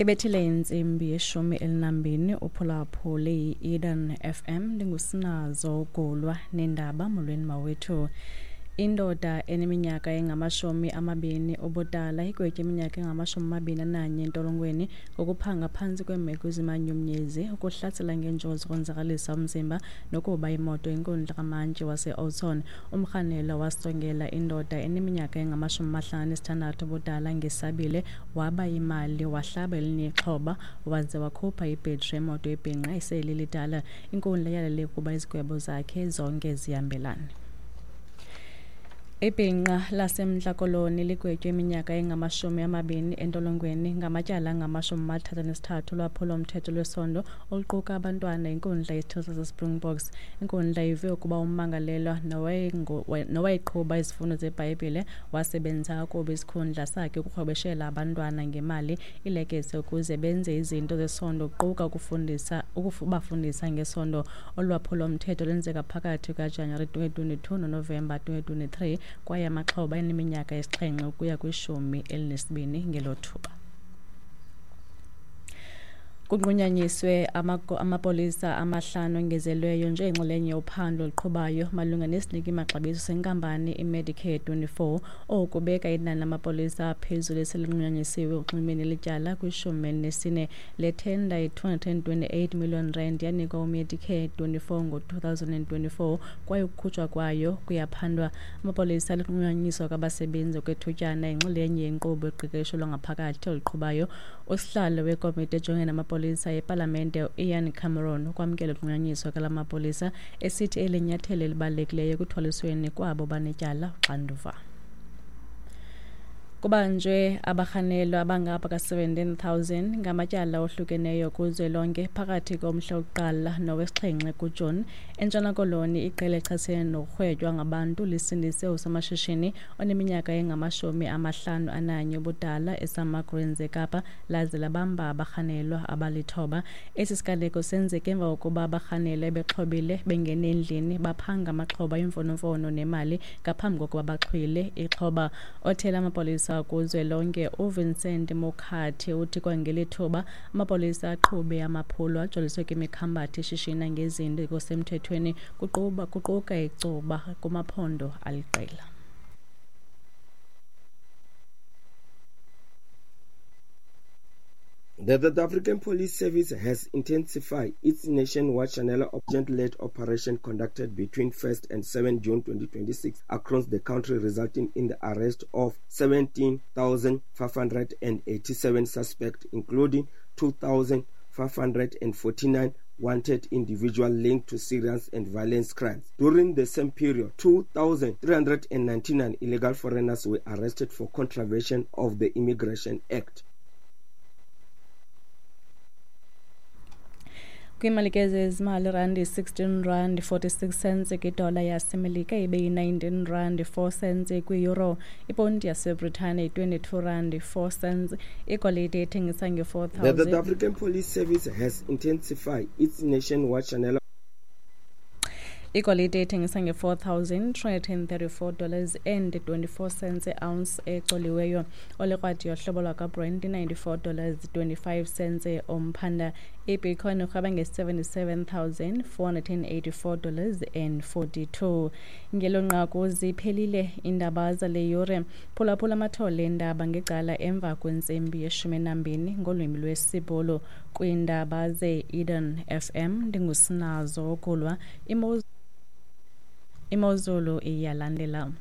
Ibethile intsimbi yeshumi elinambini uphulaphule i-Eden FM. Ndingusinazo Gulwa nendaba. Molweni mawethu. Indoda eneminyaka engama-20 ubudala igwetye iminyaka engama-21 entolongweni ngokuphanga phantsi kweemeko ezimanyumnyezi, ukuhlasela ngenjongo ukonzakalisa umzimba nokuba imoto inkundla kamantyi wase-Oudtshoorn. Umrhanelwa wasongela indoda eneminyaka engama-56 ubudala ngesabile, waba imali, wahlaba elinye ixhoba waze wakhupha ibhetri yemoto ebhinqa esele lidala. Inkundla yalele ukuba izigwebo zakhe zonke zihambelane. Ibhinqa laseMntla Koloni ligwetywe iminyaka engama-20 entolongweni ngamatyala angama-33 olwaphulo-mthetho lwesondo oluquka abantwana inkundla yesithili saseSpringboks. Inkundla ive ukuba ummangalelwa nowayeqhuba izifundo zeBhayibhile wasebenzisa kakubi isikhundla sakhe ukurhwebeshela abantwana ngemali ilekese ukuze benze izinto zesondo, kuquka ukubafundisa ngesondo. Olwaphulo-mthetho lwenzeka phakathi kukaJanuwari 2022 noNovemba 2023 kwaye amaxhoba eneminyaka esi-7 ukuya kwi-12 ngelo thuba. Kunqunyanyiswe amapolisa amahlanu ongezelweyo njengenxalenye yophando oluqhubayo malunga nesiniki-maxabiso senkampani iMedicare 24. Oku kubeka inani lamapolisa aphezulu eselinqunyanyisiwe ukunxulumene nelityala kwi-14. Le thenda yi-R228 million yanikwa uMedicare 24 ngo-2024 kwaye ukukhutshwa kwayo kuyaphandwa. Amapolisa alinqunyanyiswa kwabasebenzi okwethutyana yinxalenye yenkqubo yoqeqesho lwangaphakathi oluqhubayo. Usihlalo wekomiti ejongene namapolisa epalamente uIan Cameron ukwamkela ukunqunyanyiswa kwala mapolisa, esithi eli nyathelo elibalulekileyo ekuthwalisweni kwabo banetyala uxanduva. Kubanjwe abarhanelwa abangapha ka-17,000 ngamatyala ohlukeneyo kuzwelonke phakathi komhla wokuqala nowesixhenxe kuJuni. ENtshona Koloni, iqela elichasene nokurhwetywa ngabantu lisindise usomashishini oneminyaka engama-51 ubudala eSummer Greens eKapa laze labamba abarhanelwa abali-9. Esi siganeko senzeke emva kokuba abarhanelwa bexhobile bengene endlini baphanga amaxhoba imfonomfono nemali ngaphambi kokuba baxhwile ixhoba. Othela amapolisa kuzwelonke uVincent Mokhathi uthi kwangeli thuba amapolisa aqhube amaphulo ajoliswe kwimikhambathi eshishina ngezinto ezingekho kuquka icuba kumaphondo aliqela. The South African Police Service has intensified its nationwide Shanela agent-led operation conducted between 1st and 7 June 2026 across the country, resulting in the arrest of 17,587 suspects, including 2,549 wanted individuals linked to serious and violent crimes. During the same period, 2,399 illegal foreigners were arrested for contravention of the Immigration Act. Kwiimali ke zezimali, randi 16 rand 46 cents kwidola yaseMelika, ibe yi-19 rand 4 cents kwi-euro. Iponti yaseBritane yi-22 rand 4 cents. Igolide ithengisa nge-4 The South African Police Service has intensified its nationwide Shanela Igolide ithengisa nge-$4,334 and 24 cents e-ounce ecoliweyo. Olikrwadi yohlobo lwakwaBrent i-$94 25 cents umphanda. Ibitcoin irhweba nge-$77,484 and 42. Ngelo nqaku ziphelile iindaba zale yure. Phulaphula amathole eendaba ngecala emva kwentsimbi yeshumi nambini ngolwimi lwesiBhulu kwiindaba ze-Eden FM. Ndingusinazo Gulwa. Imozulu iyalandela.